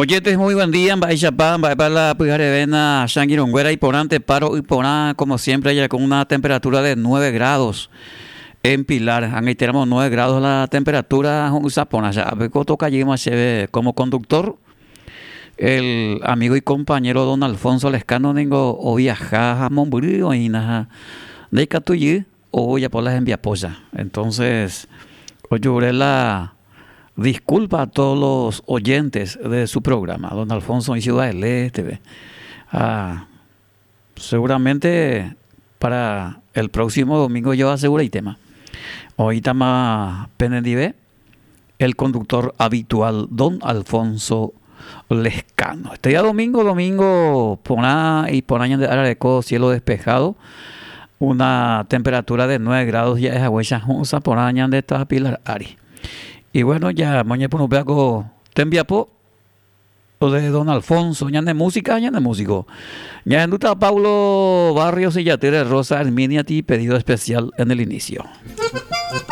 Oyentes, muy buen día, mba'éichapa, mba'épa la pyhareve na che angirũnguéra iporãnte paro yporã, como siempre ya con una temperatura de 9 grados en Pilar, ag̃aitéramo 9 grados la temperatura ho'ysã porã che ápe ko tokajýma chéve como conductor, el amigo y compañero don Alfonso Lescano ningo oviaja ha mombyry oĩna ha ndaikatúi ojapo la hembiapócha, entonces ojure la disculpa a todos los oyentes de su programa, don Alfonso oĩ Ciudad del Este-pe ha seguramente para el próximo domingo yo aseguraitéma oĩtama penendive el conductor habitual don Alfonso Lescano. Este día domingo, domingo porã iporã ñande ára reko cielo despejado, una temperatura de 9 grados ja'e haguéicha hũ'ỹsa porã ñande táva Pilar ári. Y bueno, ya moñepyrũpéva ko tembiapo de don Alfonso, ñane música ha ñane músico. Ñahendúta Paulo Barrios y Yatýre Rosa Herminia-ti pedido especial en el inicio.